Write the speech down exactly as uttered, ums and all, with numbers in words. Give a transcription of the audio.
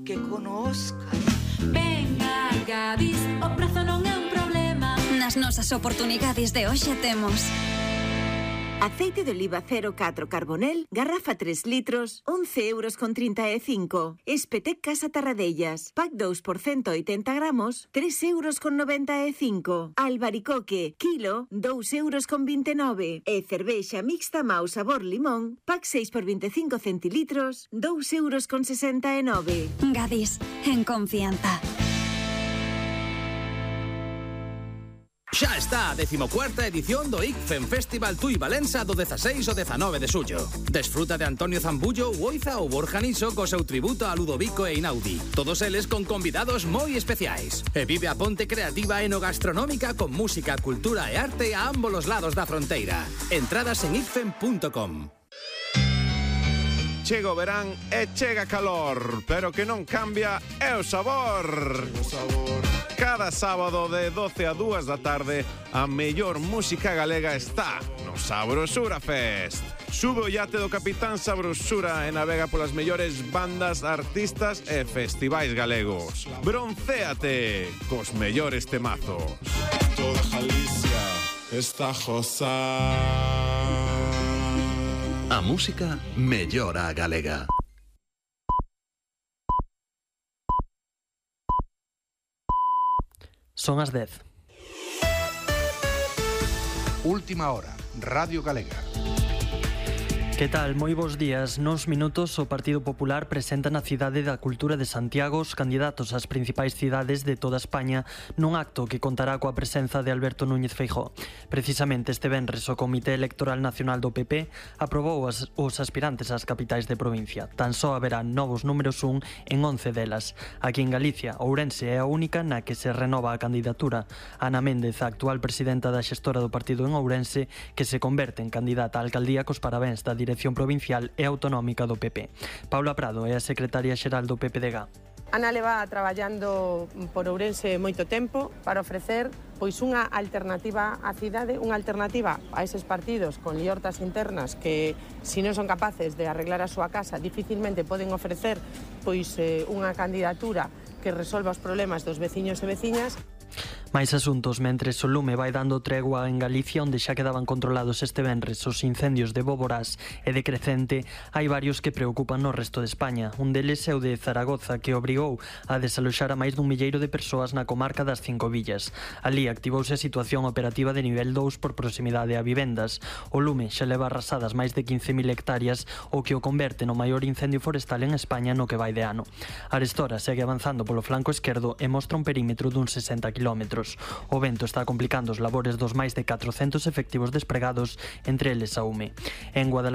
que conozcan. Ven a Gadis, o prezo non é un problema. Nas nosas oportunidades de hoxe temos aceite de oliva cero catro Carbonel, garrafa tres litros, once euros con trinta e cinco. Espetec Casa Tarradellas, pack dous por ciento oitenta gramos, tres euros con noventa e cinco. Albaricoque, kilo, dous euros con vinte e nove. E cervexa mixta Mau sabor limón, pack seis por veinticinco centilitros, dous euros con sesenta e nove. Gadis, en confianza. Xa está a decimocuarta edición do I C F E M Festival Tui Valença do dezaseis ao dezanove de xullo. Desfruta de Antonio Zambullo, Uoiza ou Borja Niso co seu tributo a Ludovico e Inaudi. Todos eles con convidados moi especiais. E vive a ponte creativa e no gastronómica con música, cultura e arte a ambos os lados da fronteira. Entradas en i c f e m punto com. Chega o verán e chega calor, pero que non cambia é o sabor. O sabor. Cada sábado de doce a dúas da tarde a mellor música galega está no Sabrosura Fest. Sube o iate do Capitán Sabrosura e navega polas mellores bandas, artistas e festivais galegos. Broncéate cos mellores temazos. Toda Galicia está josa. A música mellora a galega. Son as dez. Última hora, Radio Galega. Que tal? Moi bons días. Nos minutos o Partido Popular presenta na Cidade da Cultura de Santiago os candidatos ás principais cidades de toda España nun acto que contará coa presenza de Alberto Núñez Feijóo. Precisamente este venres o Comité Electoral Nacional do P P aprobou as, os aspirantes ás capitais de provincia. Tan só haberá novos números un en once delas. Aquí en Galicia, Ourense é a única na que se renova a candidatura. Ana Méndez, a actual presidenta da xestora do partido en Ourense, que se converte en candidata á alcaldía cos parabéns da Dirección Provincial e Autonómica do P P. Paula Prado é a secretaria xeral do P P D G. Ana leva traballando por Ourense moito tempo para ofrecer pois unha alternativa á cidade, unha alternativa a eses partidos con liortas internas que, se non son capaces de arreglar a súa casa, dificilmente poden ofrecer pois eh, unha candidatura que resolva os problemas dos veciños e veciñas. Mais asuntos, mentres o lume vai dando tregua en Galicia, onde xa quedaban controlados este venres os incendios de Boborás e de Crecente, hai varios que preocupan no resto de España. Un deles é o de Zaragoza, que obrigou a desaloxar a máis dun milleiro de persoas na comarca das Cinco Villas. Ali activouse a situación operativa de nivel dous por proximidade a vivendas. O lume xa leva arrasadas máis de quince mil hectáreas, o que o converte no maior incendio forestal en España no que vai de ano. Arestora segue avanzando polo flanco esquerdo e mostra un perímetro dun sesenta kilómetros. O vento está complicando os labores dos máis de catrocentos efectivos despregados, entre eles a UME. En Guadalajara